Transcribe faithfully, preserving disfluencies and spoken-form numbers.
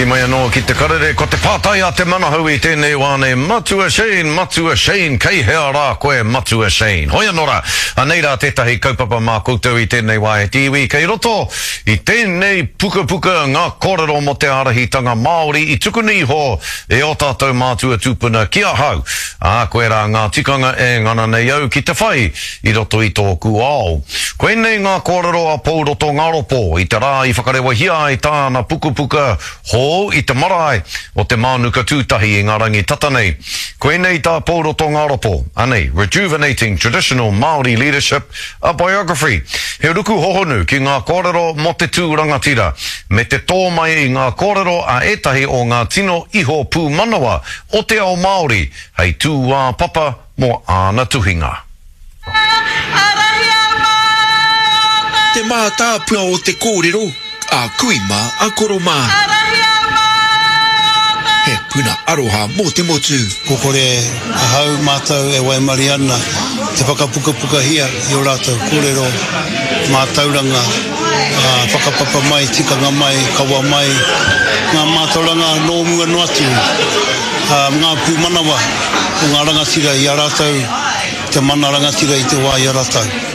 Hoki mai anō ki te karere, ko te pātai a te manahau i tēnei wā nei, Matua Shane, Matua Shane, kei hea rā koe Matua Shane? Hoi anō rā, anei rā tētahi kaupapa mā koutou i tēnei wā e te iwi, kei roto i tēnei pukapuka ngā kōrero mō te ārahitanga Māori i tukuna iho e ō tātou mātua tūpuna ki ahau, ā, koirā ngā tikanga e ngana nei au ki te whai i roto i tōku ao. Koinei ngā kōrero a Pouroto Ngaropo i te rā i whakarewahia ai tāna pukapuka hou i te marae o te Mānuka Tūtahi i ngā rangi tata nei. Koinei tā Pouroto Ngaropo, anei, Rejuvenating Traditional Māori Leadership, A Biography. He ruku hohonu ki ngā kōrero mō te tū rangatira, me te tō mai i ngā kōrero a ētahi o ngā tino iho pūmanawa o te ao Māori hei tūāpapa mō āna tuhinga. Te mātāpuna o te kōrero, a kui mā, a koro mā. He puna aroha mō te motu. Kua kore ahau, mātou e waimarie ana te whakapukapukahia i ō rātou kōrero, mātauranga, whakapapa mai, tikanga mai, kawa mai, ngā mātauranga nō mua noa atu, ngā pūmanawa o ngā rangatira i a rātou, te mana rangatira i te wā i a rātou.